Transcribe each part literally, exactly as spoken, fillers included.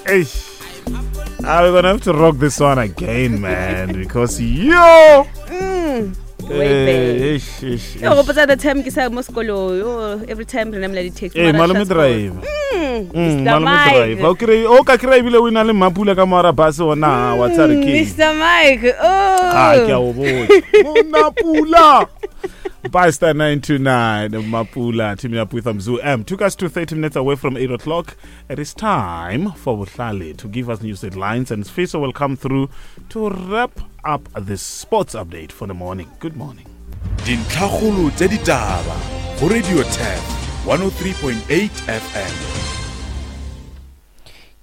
Eish. Ah, we're gonna have to rock this one again, man, because yo. Mm. Eh, eish, eish, Ke eish. gopotsa the time ke sa mo sekolong yo every time re namela di-taxi Eh, mara malome transport. driver. Mm, Mm, Mr. malome Mike. driver. O kry- o ka kry ebile o na le Mapula ka moara bus ona wa tsare Mm, ke. Mr. Mike oh Ah, ke a o botsa. Mapula. By star nine two nine, Mapula, teaming up with Mzu M. Took us to thirty minutes away from eight o'clock. It is time for Bohlale to give us news headlines, and Fiso will come through to wrap up the sports update for the morning. Good morning. Dintlhakgolo tša ditaba go Radio Turf one oh three point eight F M.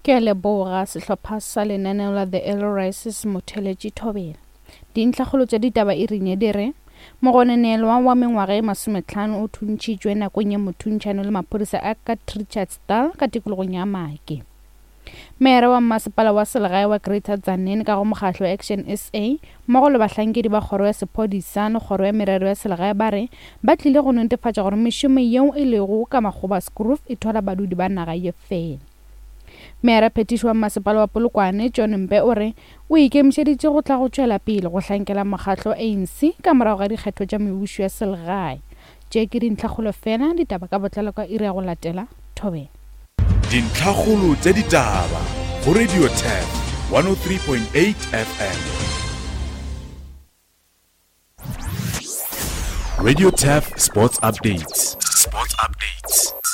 Ke a leboga sehlopha sa lenaneo la The Early Rises Motheletši Thobela. Dintlhakgolo tša ditaba e rinye di re mogononelwa wa mengwaga e masometlhano o thuntšhitšwe nakong ya mothuntšhano le maphodisa a ka Richardsdal ka tikologong ya Make. Meere wa mmasepala wa selegae wa Greater Tzaneen ka go mokgahlo wa Action S A mmogo le bahlankedi ba kgoro ya sephodisa le kgoro ya merero ya selegae ba re ba tlile go netefatša gore mešomo yeo e lego ka Makgoba's Grove e thwala badudi ba naga ye fela. Meere phetiši wa mmasepala wa Polokwane John Mpe o re o ikemišeditše go tla go tšwela pele go hlankela mokgahlo A N C ka morago ga dikgetho tša mebušo ya selegae. Tše ke dintlhakgolo fela, ditaba ka botlalo ka iri ya go latela Thobela. Dintlhakgolo tša ditaba go Radio Turf one oh three point eight F M. Radio Turf Sports Updates. Sports Updates.